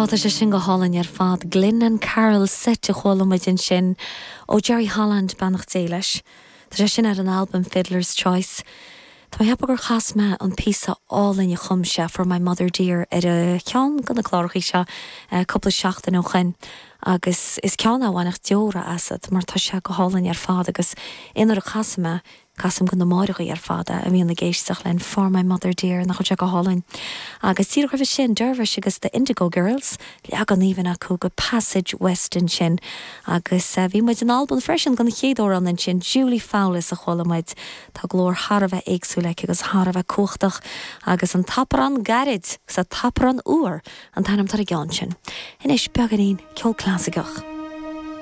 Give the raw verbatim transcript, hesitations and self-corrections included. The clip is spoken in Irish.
Tá sé sin go hálainn ar fad Glyn and Carol Set a chuala muid ansin ó Jerry Holland beannacht Dé leis. Tá sé sin ar an album Fiddler's Choice. Tá mé ag ceapadh gur chas mé an píosa álainn a chum sé for my mother dear ar a cheann de na cláracha seo cúpla seachtain ó shin. agus is ceann a bhainfeadh deora asat mar tá sé go hálainn ar fad agus inar a chas mé casaim do na máithreacha ar fad a bhíonn ag éisteacht linn for my mother dear nach sé go hálainn. Agus tí chuimh sin Dervish agus the Indigo Girls leagan aoibhinn acu de Passage West ansin. Agus uh, bhí muid in Albain freisin don chéad amhrán ansin Julie Fowlis a chuala muid Tá glór thar a bheith éagsúil aici agus thar a bheith cumhachtach agus an tAmhrán Gairid sa tAmhrán Úr an t-ainm ar an gceann sin. Anois beagáinín ceol clasaiceach.